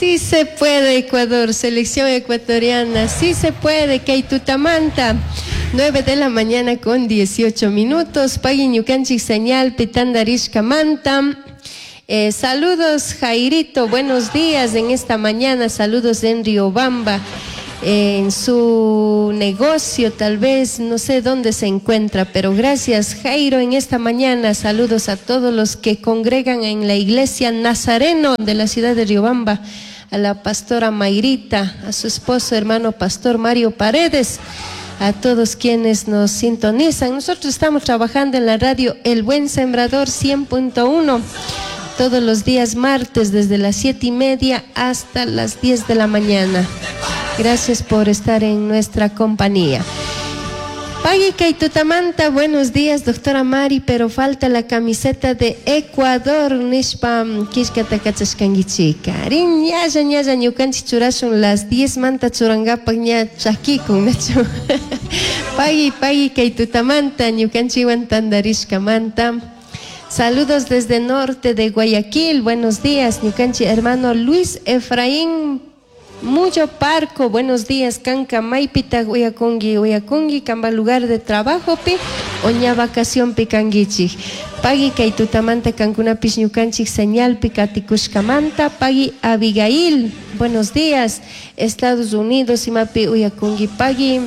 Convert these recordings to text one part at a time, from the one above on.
Sí se puede, Ecuador, selección ecuatoriana, sí se puede, kay tutamanta. 9 de la mañana con 18 minutos. Pagui ñukanchik señal pitandarishkamanta. Saludos, Jairito, buenos días en esta mañana. Saludos en Riobamba, en su negocio, tal vez, no sé dónde se encuentra, pero gracias, Jairo, en esta mañana. Saludos a todos los que congregan en la iglesia Nazareno de la ciudad de Riobamba, a la pastora Mayrita, a su esposo, hermano pastor Mario Paredes, a todos quienes nos sintonizan. Nosotros estamos trabajando en la radio El Buen Sembrador 100.1 todos los días martes desde las 7:30 hasta las 10 de la mañana. Gracias por estar en nuestra compañía. Pagui kay tutamanta, buenos días, doctora Mari, pero falta la camiseta de Ecuador, nishpa killkata kachashkanguichika. Rin ñalla ñalla ñukanchik churashun las 10 manta churangapak ña chakikun, nachu. Pagui, pagui kay tutamanta, ñukanchikwan tandarishkamanta. Saludos desde norte de Guayaquil, buenos días, ñukanchik hermano Luis Efraín Mucho Parco, buenos días, kanka maypita uyakungi, uyakungi, kamba lugar de trabajo pi, o ña vacación pi kanguichik. Pagui kay tutamanta kankunapish ñukanchik señal pi katikushkamanta. Pagui Abigail, buenos días, Estados Unidos, imapi uyakungi, pagui.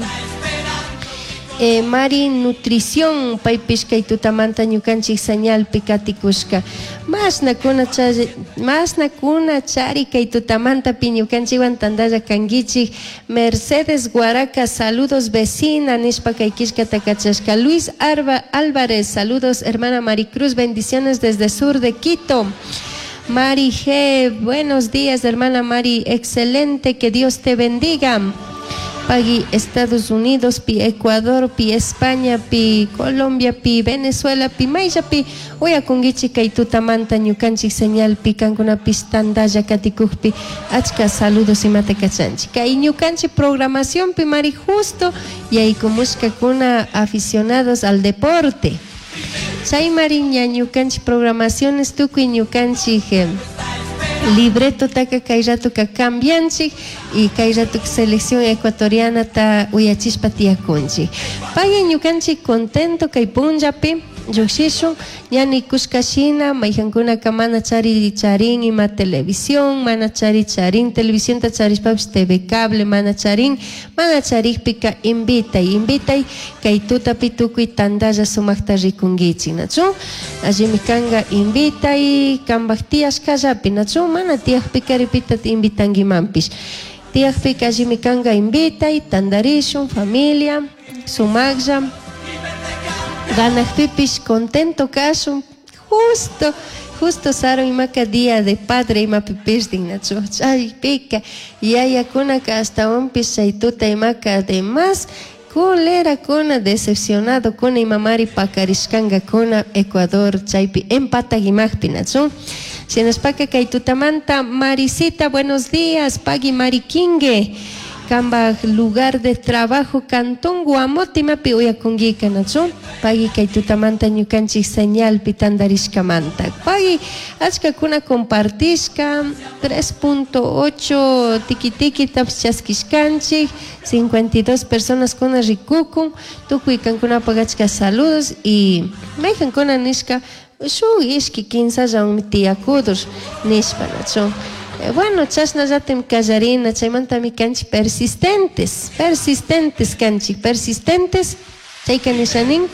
Mari Nutrición, paypish kay tutamanta ñukanchik señal pi katikushka. Masna kuna chari, masna kuna chari kay tutamanta pi ñukanchikwan tantalla kanguichik. Mercedes Guaraca, saludos vecina, nishpa kay killkata kachashka. Luis Arba Álvarez, saludos hermana Maricruz, bendiciones desde sur de Quito. Mari G, buenos días hermana Mari, excelente, que Dios te bendiga. Pagui Estados Unidos, pi Ecuador, pi España, pi Colombia, pi Venezuela, pi maylla pi uyakunguichik kay tutamanta ñukanchik señal pi kankunapish tantalla katikukpi achka saludos imata kachanchik. Kay ñukanchik programación pi Mari justo yaykumushkakuna aficionados al deporte. Chay Mari ña ñukanchik programaciones tukuy ñukanchik libreto taka kay ratoka cambianchik y kay ratoka selección ecuatoriana ta uyachishpa tiyakunchik. Pagui ñukanchik contento kay punllapi llukshishun ña nikushka shina mayjankunaka mana chari charin ima televisión, mana chari charin televisionta charishpapish TV cable mana charin, mana charikpika invitay, invitay kay tutapi tukuy tantalla sumakta rikunkichik, nachu? Allimi kanka invitay kanpak tiyashkallapi, nachu? Mana tiyakpika ripita invitankimanpish. Tiyakpika allimi kanka invitay, tantarishun, familia, sumaklla, ganakpipish contento kashun, justo, justo sarun imaka día de padre imapi pirdin, nachu? Chaypika yayakunaka ashtawanpish chay tuta imaka además culera kuna decepcionado kuna imamari pakarishkankakuna Ecuador chaypi empatag imajpi, nachu? Shinashpaka kay tutamanta Marisita, buenos días, pagui Mariquingue, kambaj lugar de trabajo Cantón Guamote imapi uyakunguika, nachu? Pagui kay tutamanta ñukanchik señal pi tantarishkamanta. Pagui achkakuna compartishka 3.8 tiki tiki tapish chaskishkanchik, 52 personas kuna rikukun, tukuy kankunapak achka saludos y mayjankuna nishka shuk ishki kinsallawanmi tiyakudur nishpa, nachu? Bueno, chashnallatim kallarina, chaymantami kanchik persistentes, persistentes kanchik, persistentes, chayka nishanin,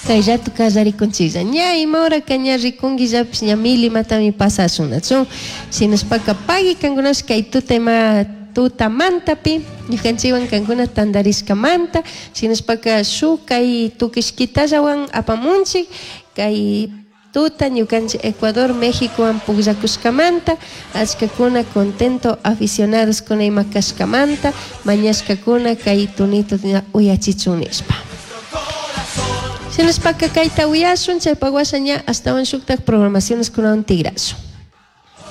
kay rato kallarikunchiklla. Ña ima horaka ña rikunkillapish ña mil imatami pasashun, nachu? Shinashpaka pagui kankunash kay tuta ima tutamantapi, ñukanchikwan kankuna tantarishkamanta, shinashpaka shuk kay tukishkitallawan apamunchik, kay tuta ñukanchik Ecuador, Méxicowan pukllakushkamanta, achkakuna contento aficionados kuna ima kashkamanta, mañashkakuna kay tunito uyachichun nishpa. Shinashpaka kayta uyashun, chaypak washa ña ashtawan shuktak programaciones kunawan tigrashun.